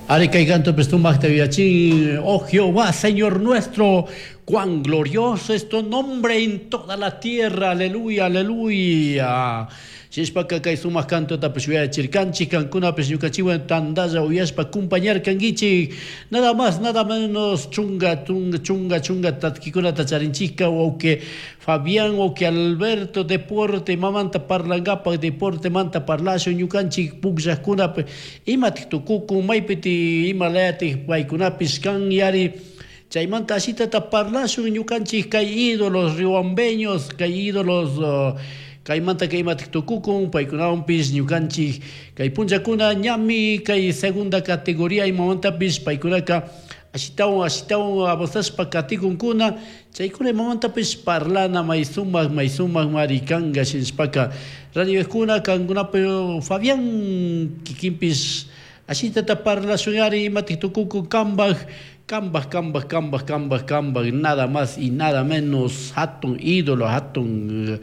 Ari kay canto sumaqta yuyachin, oh Jehová, Señor nuestro, cuán glorioso es tu nombre en toda la tierra, aleluya, aleluya. Shishpaka kay sumaq cantotapish uyachirkanchik, kankunapish ñukanchikwan tandalla uyashpa acompañarkankichik. Nada más, nada menos, chunga, chunga, chunga, chunga tatkikunata charinchikka, wawqi Fabián, wawqi Alberto, deporte mamanta parlankapak, deportemanta parlashun, ñukanchik pukllaqkunapi imatik tukukun, maypiti ima layatik paykunapish kan yari. Chaymanta ashitata parlashun ñukanchik kay ídolos riobambeños, kay ídolos kaymanta kay imatik tukukun, paykunawanpish ñukanchik kay punllakuna ñami kay segunda categoría imamantapish paykunaka ashitawan ashitawan avanzashpa katikunkuna, chaykuna imamantapish parlana may sumak may sumak mari kanka shinashpaka radiokuna kankunapi Fabián kikinpish ashitata parlashun ari imatik tukukun kambak kambak kambak kambak kambak kambak nada más y nada menos hatun ídolo hatun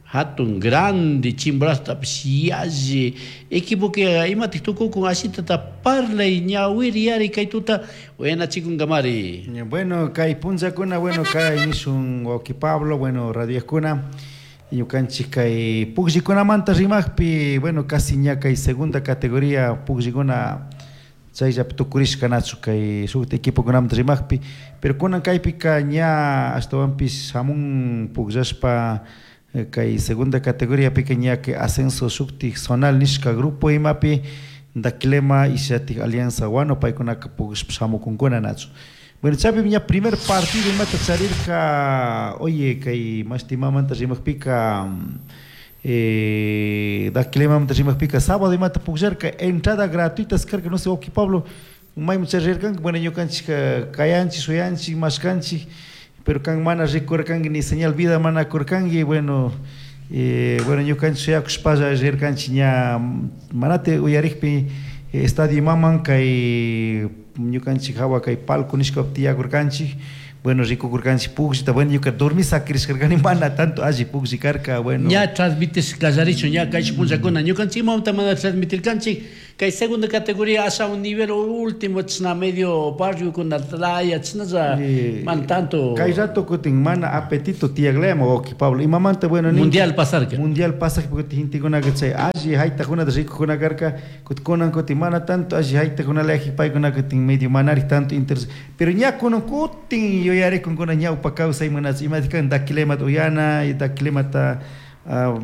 hatun grande Chimborazotapish yalli equipo que imatik tukukun ashitata parlay ñawiri yari kay tuta uyanachikunkamari. Bueno, kay punllakuna, bueno, kay nishun wawqi Pablo, bueno, radiokuna, ñukanchik kay pukllikunamanta rimaqpi, bueno, casi ña kay segunda categoría pukllikuna chayllapi tukurishka nachu kay shuk equipokunamanta rimaqpi, pero kunan kaypika ña ashtawanpish shamun pukllashpa kay segunda categoría pika ña kay ascenso shuktik zonal nishka grupo imapi Daquilema y shatik Alianza Guano paykunaka pukllashpa shamukunkuna nachu. Bueno, chaypi ña primer partido imata charirka, oye, kay mashti imamanta rimaqpika Daquilemamanta rimaqpika sábado imata pukllarka entrada gratuitas karka, no sé, wawqi Pablo, mayman charirkanki, bueno, ñukanchik kayanchik, shuyanchik, mashkanchik, pero kan mana rikurkanki ni señal vida mana kurkanki, bueno, bueno, ñukanchik shuyakushpalla rirkanchik ña manati uyarikpi estadio imaman kay ñukanchik hawa kay palco nishkapi tiyakurkanchik, bueno, rikukurkanchik pukllita, bueno, ñuka dormis sakirishkarkani mana tanto alli puklli karka, bueno. Ña transmitish kallarichun ña kay punllakuna ñukanchik imamanta mana transmitirkanchik kay segunda categoría asha un nivel último chashna medio barrio kuna laya chashnalla mana tanto. Kay rato kutin mana apetito tiyaklaya wawqi Pablo, imamanta, bueno, Mundial pasarka. Mundial pasakpi kutin gentekunaka chay alli haytakunata rikukuna karka, kutin kunan kutin mana tanto alli haytakunalaya paykuna kutin medio manarik tanto interés, pero ña kunan kutin yuyarikunkuna ñawpa kawsayman imatik kan Daquilemata uyana, Daquilemata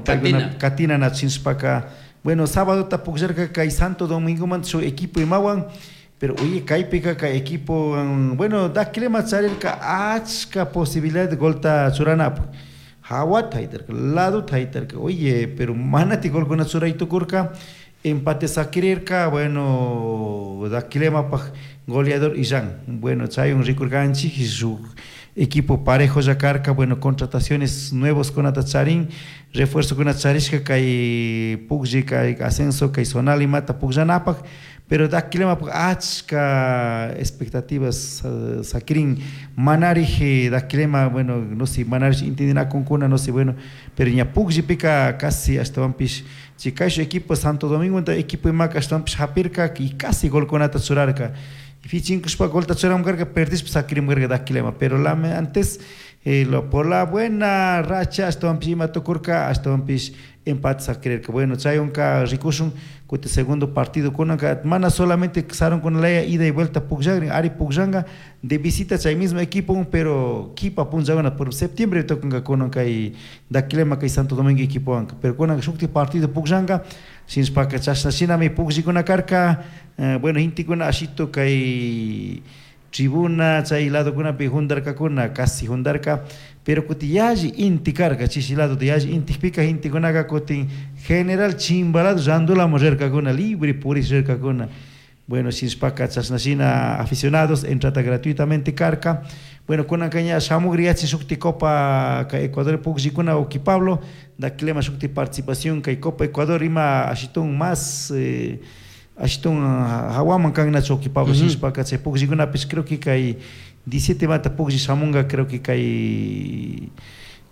paykuna katina nachinshpaka, bueno, sábado pukllarka kay Santo Domingomanta shuk equipo imawan, pero oye, kaypika kay equipo, bueno, Daquilema charirka achka posibilidad de golta churanapak, hawata haytarka, ladota haytarka, oye, pero manati golkuna churay tukurka, empate sakirirka, bueno, Daquilemapaj goleador Illán, bueno, chaywan rikurkanchik shuk equipo parejo ya karka, bueno, contrataciones nuevos kunata charin, refuerzo kunata charishka kay puklli, kay ascenso, kay zonal imata pukllanapak, pero Daquilemapaj achka expectativas sakirin, manarij Daquilema, bueno, no sé, manarij entendinakunkuna, no sé, bueno, pero ña pukllipika casi ashtawanpish chay kayshuk equipo Santo Domingo equipo imaka ashtawanpish hapirka y casi golkunata churarka, fichinkushpa golta churamunkarka, perdishpa sakirimkarka Daquilema, pero la antes lo, por la buena racha ashtawanpish ima tukurka, ashtawanpish empate sakirirka, bueno, chaywanka rikushun kutin segundo partido kunanka mana solamente sarunkunalaya ida y vuelta pukllakrin, ari pukllanka de visita chay mismo equipo, pero kipa punllakuna por septiembre tukunka kunan kay Daquilema kay Santo Domingo equipowanka, pero kunanka shukti partido pukllanka, shinashpaka chashna shinami pukllikuna karka, bueno, gentekuna ashito kay tribuna chay ladokunapi jundarkakuna, casi jundarka, pero kutin yalli inti karka, chishi ladota yalli intikpika gentekunaka kutin general chimba lado randulamun rirkakuna, libre purish rirkakuna, bueno, shinashpaka chashna shina aficionados, entrada gratuitamente karka, bueno, kunanka ña shamugriyachi shukti Copa kay Ecuador pukllikuna wawqi Pablo, Daquilema shukti participación kay Copa Ecuador ima ashitun más ashitun hawaman kannachu wawqi Pablo, shinashpaka chay pukllikunapish creo que kay 17 mata puklli shamunga, creo que kay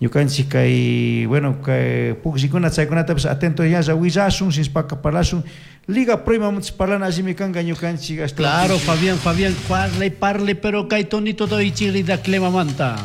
Ñukanchik kay bueno kay pukllikuna chaykunatapish atento ñalla willashun shinshpaka parlashun. Liga Pro imamuntash parlana allimi kanka ñukanchik ashtawanpish. Claro, Fabián, Fabián, parle, parle, pero kay tonito doy chirida clemamanta.